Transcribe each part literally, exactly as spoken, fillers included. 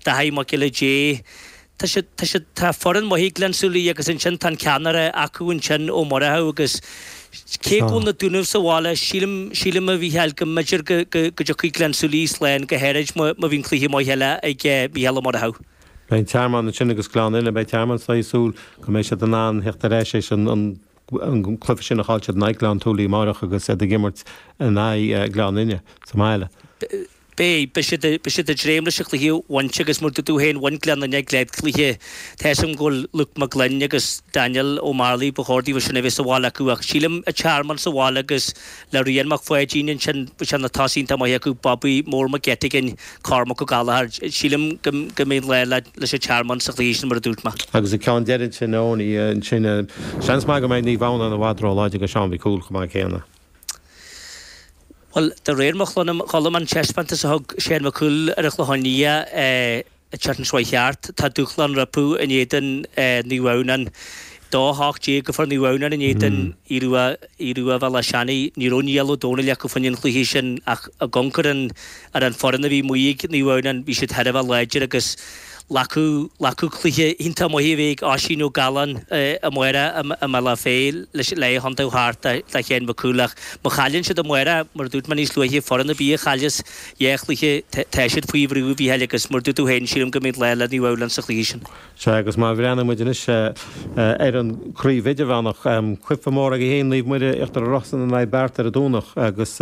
Daithí Mac Giolla Dé. Tá siad, tá siad, tá foireann maith ag Gleann tSúilí agus ansin tá an ceannaire acu ansin, Ó Murchú, agus cé go bhfuil na Dúnaibh sa bhaile, sílim, sílim a Mhícheáil go mb'fhéidir go, go, go dtiocfaidh Gleann tSúilí slán go háirid má, má bhíonn cluiche maith eile ag Mícheál Ó Murchú. Beidh an Tearmann ansin agus Gleann Fhinne, beidh Tearmann ag súil go mbeidh siad in ann theacht ar ais éis an, an, an cluiche sin a chaill siad in aghaidh Gleann tSúilí amárach agus iad ag imirt in aghaidh Gleann Fhinne sa mbaile. Beidh, beidh siad, beidh siad ag dréim leis an chluiche a bhaint agus mar dúirt tú féin, bhain Gleann Fhinne a gcéad chluiche. Tá 'fhios agam go bhfuil Luke Mac Gloinn agus Daniel Ó Mearlaigh, ba chóir daofa sin a bheith sa bhaile acu ach sílim an Tearmann sa bhaile agus le Rian Mac Pháidín ansin, bhí sé na tosaithe iontach maith acu, Bobby Mór Mac Eitigeann, Cormac Ó Gallchóir, sílim go, go mbeidh an lá le, leis an Tearmann sa chluiche sin mar a dúirt mé. Agus an ceann deiridh sin, Eoiní, ansin, seans maith go mbeidh Naomh Adhamhnáin i bhfad róláidir do Seán Mhic Cumhaill chomh maith céanna. Bhuel, de réir mo cholaim, an taispeántas a thug Shane Mac Cumhaill ar an Chlochán Liath an tseachtain seo thart, tá dúshlán rompu in éadan Naomh Adhamhnáin. Dó a hocht déag a fuair Naomh Adhamhnáin in éadan Aodh Rua Bhéal Átha Seanaidh. Ní raibh Niall Ó Dónaill acu fá choinne an chluiche sin ach ag amharc ar an ar an foireann a bhí amuigh ag Naomh Adhamhnáin, bhí siad thar a bheith láidir agus Glacadh glacadh cluiche iontach maith a bhí ag Oisín Ó Galláin amárach i mBealach Féich leis le chontae thart do Shane Mac Cumhaill ach má chailleann siad amárach, mar a dúirt mé níos luaithe, foireann ar bith a chailleas dhá chluiche, tá siad faoi bhrú, a Mhícheáil, agus mar a dúirt tú féin, sílim go mbeidh lá le Naomh Adhamhnáin sa chluiche sin. Sea, agus má bhreathnaíonn muid anois ar an chraobh idirmheánach, cluiche mór agaibh féin, Naomh Muire, Íochtar na Rosann in aghaidh Beart ar an Domhnach agus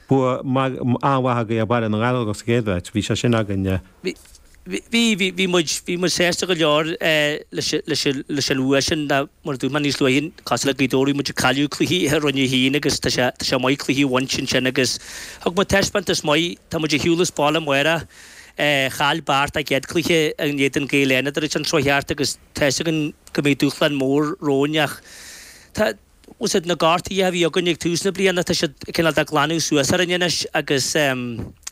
bua an-mhaith agaibh ar Bhaile na nGallóglach sa gcéad mheaits. Bhí sé sin againn. Bhí. Bhí, bhí, bhí muid, bhí muid sásta go leor leis, leis, leis an bhua sin ná mar a dúirt mé níos luaithe, cosúil le Gaoth Dobhair, bhí muid ag cailleadh cluichí i Roinn a hAon agus tá sé, tá sé maith cluichí a bhaint ansin agus thug muid taispeántas maith, tá muid ar shiúl as baile amárach, chaill Beart a gcéad cluiche in éadan Gaeil Fhánada an tseachtain seo thart agus tá 'fhios againn go mbeidh dúshlán mór romhainn ach tá, bhfuil 'fhios a'd na gortuithe a bhí againn ag tús na bliana, tá siad cineál de glanadh suas orainn anois agus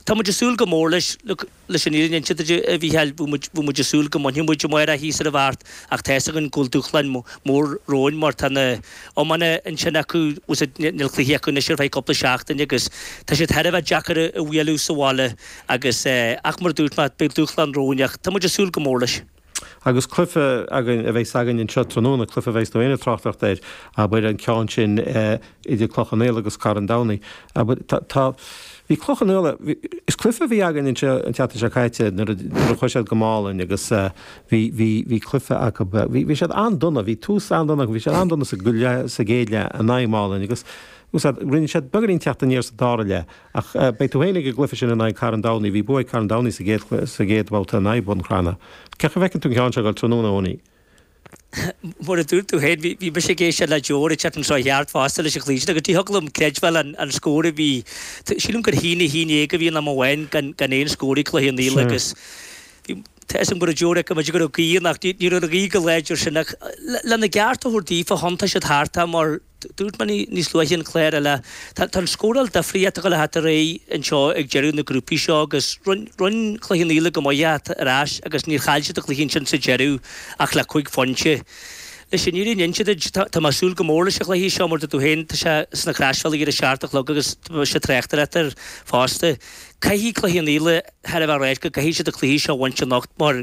tá muid ag súil go mór leis, look, leis an fhírinne a inse duit a Mhícheáil, bhí muid, bhí muid ag súil go mbainfeadh muid amárach thíos ar an Bheart ach tá 'fhios againn go bhfuil dúshlán mór romhainn mar tá na iomána ansin acu, bhfuil 'fhios a'd, níl cluiche acu anois ar feadh cúpla seachtain agus tá siad thar a bheith deacair a bhualadh sa bhaile agus ach mar a dúirt mé, beidh dúshlán romhainn ach tá muid ag súil go mór leis. Agus cluiche againn a bheas againn anseo tráthnóna, cluiche a bheas tú féin ag tráchtaireacht air, abair, an ceann sin idir Cloich Cheann Fhaola agus Carn Domhnaigh. Abair, tá, tá, bhí Cloich Cheann Fhaola, bhí, is cluiche a bhí againn anseo an tseachtain seo caite nuair a, nuair a chuaigh siad go Málainn agus bhí, bhí, bhí cluiche acu, bhí, bhí siad an-dona, bhí tús an-dona acu, bhí siad an-dona sa, sa gcéad leath in aghaidh Málainn agus, úsáid, rinne siad beagáinín teacht aniar sa dara leath. Ach beidh tú féin ag an gcluiche sin in aghaidh Carn Domhnaigh, bhí bua ag Carn Domhnaigh sa gcéad, sa gcéad bhabhta in aghaidh Bhun Cranncha. Cén chaoi a bhfeiceann tú an ceann seo ag dul tráthnóna, Eoiní? Mar a dúirt tú féin, bhí, bhí mise ag éisteacht le Joe an tseachtain seo thart fosta leis an chluiche sin agus ní thiocfadh liom creidbheáil an, an scór a bhí, sílim gur haon a haon déag a bhí in am amháin gan, gan aon scór ag Cloich Cheann Fhaola agus bhí, tá 'fhios agam go raibh Joe ag go mb'fhéidir go raibh gaoth ann ach ní, ní raibh an ghaoth chomh láidir sin ach le, lena gceart a thabhairt daofa, thiontaigh siad thart é mar, Dúirt mé níos luaithe an clár eile, tá an scóráil difríocht ag dul a theacht ar aghaidh anseo ag deireadh na grúpaí seo agus rinne Cloich Cheann Fhaola go maith a theacht ar ais agus níor chaill siad an cluiche ansin sa deireadh ach le cúig phointe. Leis an fhírinne a inse duit, tá mé ag súil go mór leis an chluiche seo mar dúirt tú féin, tá sé sna Croisbhealaí ar a seacht a chlog agus tá sé tráchtaireacht air fosta. Caithfidh Cloich Cheann Fhaola thar a bheith ráite go gcaithfidh siad an cluiche seo a bhaint anocht mar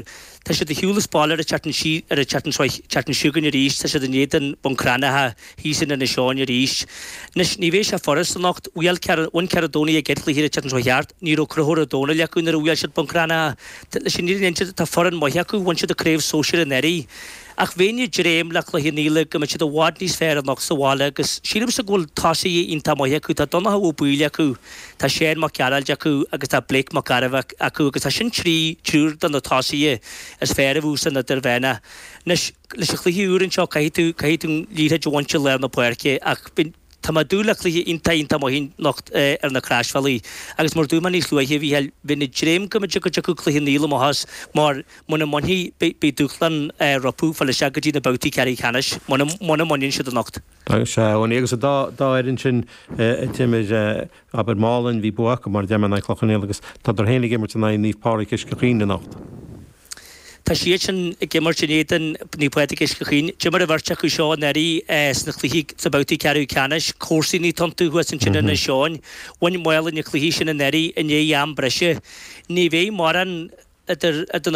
tá siad ar shiúl as baile ar an tseachtain ar an tseachtain seo tseachtain seo chugainn arís, tá siad in éadan Bhun Cranncha thíos in Inis Eoghain arís. Anois, ní bheidh sé furast anocht. Bhuail Cearn, bhain Cearn Domhnaigh a gcéad chluiche ar an tseachtain seo thart. Ní raibh Conchúr Ó Domhnaill acu nuair a bhuail siad Bun Cranncha. Leis an fhírinne a inse, tá foireann maith acu, bhain siad an craobh sóisir anuraidh. Ach bheinn ag dréim le Cloich Cheann Fhaola go mbeidh siad i bhfad níos fearr anocht sa bhaile agus sílimse go bhfuil tosaithe iontach maith acu. Tá Donncha Ó Baoill acu, tá Seán Mac Gearailt acu agus tá Blake Mac Gairbheith acu agus tá sin trí, triúr de na tosaithe is fearr a bheas san idirmheánach. Anois, leis an chluiche úr anseo caithfidh tú, caithfidh tú an liathróid a bhaint i lár na páirce ach tá mé ag dúil le cluiche iontach, iontach maith anocht ar na Croisbhealaí agus mar a dúirt mé níos luaithe, a Mhícheáil, bheinn ag dréim go mb'fhéidir go dtiocfadh Cloich Cheann Fhaola amach as mar muna mbainfidh, beidh, beidh dúshlán rompu fáil isteach go dtí na babhtaí ceathrú ceannais muna, muna mbaineann siad anocht. Sea, agus an dá, dá fhoireann sin a d'imir, abair Málainn, bhí bua acu mar a deir mé in aghaidh Cloich Cheann Fhaola agus tádar féin ag imirt in aghaidh Naomh Pádraig Uisce Chaoin anocht. Tá siad sin ag imirt in éadan Naomh Pádraig Uisce Chaoin. D'imir an bheirt acu seo anuraidh sna cluichí sna babhtaí ceathrú ceannais. Comharsanaí atá iontu thuas ansin in Inis Eoghain. Bhain Málainn an cluiche sin anuraidh i ndiaidh am breise. Ní bheidh mórán idir na.